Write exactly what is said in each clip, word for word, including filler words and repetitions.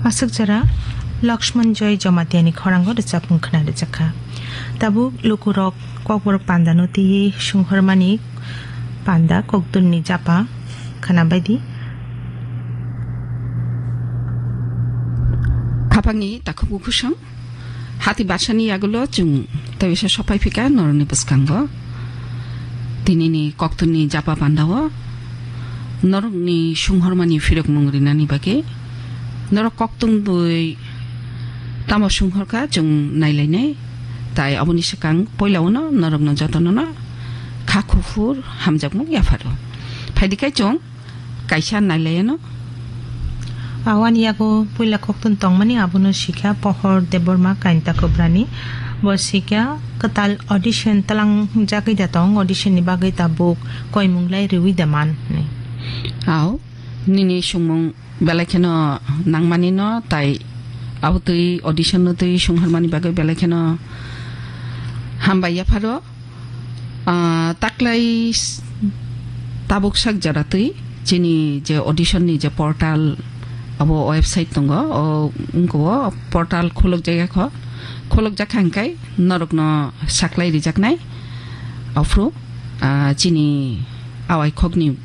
Aswk jora Lakshman Joy Jamatia ni khorang o rwchapmung khwna rwjakha. Tabuk lukurok kokborok panda no twiwi sunghormani panda kokdun ni japa khwna baidi. Khapangni takhuk bukhusong. Hati basani yagulo chwng tawisa sopai phika norokni bwskango. Tinini koktunni japa pandao norokni sunghormani phirokmung rinani bagwi norok koktun bui tamo sunghorkha chwng nailainai. Tai aboni swkang poilao no norokno jotono no kha kuphur hamjakmung yapharo. Phaidi khai chwng kaisa nailaiyano. Awani yago puila koktun tongmani abono sikha Pohor Debbarma Kainta Kobrani. Bo sikha kwtal audition tlangjagwi da tong, audition ni bagwi tabuk koimung lai riwi da man hinwi. Ao, nini sumung belai kheno nangmani no, tai abo twi audition no twi sungharmani bagwi belai kheno hambai yapharo. Ah, taklai s-, tabuk sak jora twi chini je audition ni je portal abo website tongo, o wngkha o portal khuluk jaya kho, khuluk jakha hwnkhe norokno saklai rijaknai. Aphuru, ah, chini awai khokni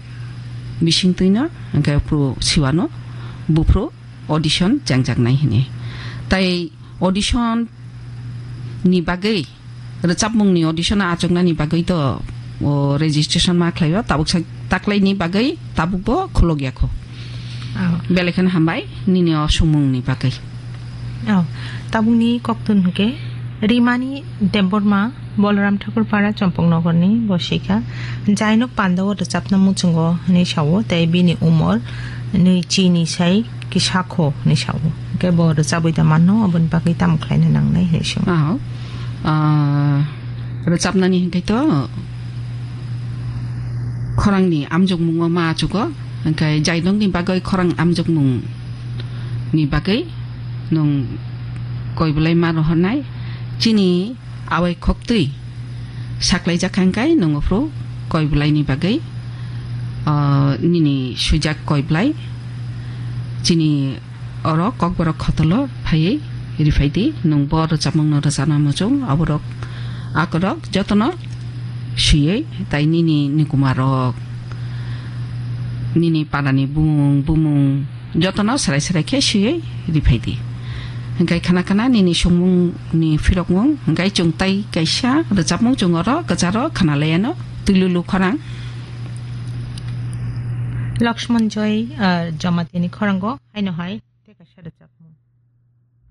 bising twino hwnkhe aphuru siwano buphuru audition chengjaknai hini. Tai audition ni bagwi, rwchapmung ni audition achuknani bagwi to, o, registration ma khlaio, tabuk sa taklai ni bagwi tabuk bo khulok ya kho. Oh. Belai kheno hambai nini o sumung ni bagwi. Oh, tabuk ni koktun hwnkhe Rimani Debbarma, Balaram Thakur Para, Chompok Nogor ni bo sikha. Jainok panda o rwchapna muchungo hinwi sao, tei bini umor nwi chini sai kisa kho hinwi sao. Hwnkhe bo rwchabwi da manno, aboni bagwi tamo khlaina nangnai hinwi sio. Ah, ah, rwchapnani hwnkhe to khorangni amjokmungo ma achugo, hwnkhe jainokni bagwi khorang amjokmung ni bagwi nwng koi belai ma rohornai. Chini awai khoktwi saklaijak kha hwnkhe nwng aphuru koi belaini bagwi, ah, nini swijak koi belai chini oro kokborok khotolo phaiwi riphai di. Nwng bo rwchapmungno rwchana muchung, aborok akorok jotono swiwi tai nini nikumarok, nini parani bumung bumung, jotono serai serai khe swiwi riphai di. Hwnkhe khana khana nini songmung ni phirokmung, hwnkhe chwng tai kaisa rwchapmung chwng oro kwcharo khana laiano twilulu khorang. Lakshman Joy, ah, Jamatia ni khorango haino hai tei kaisa rwchapmung.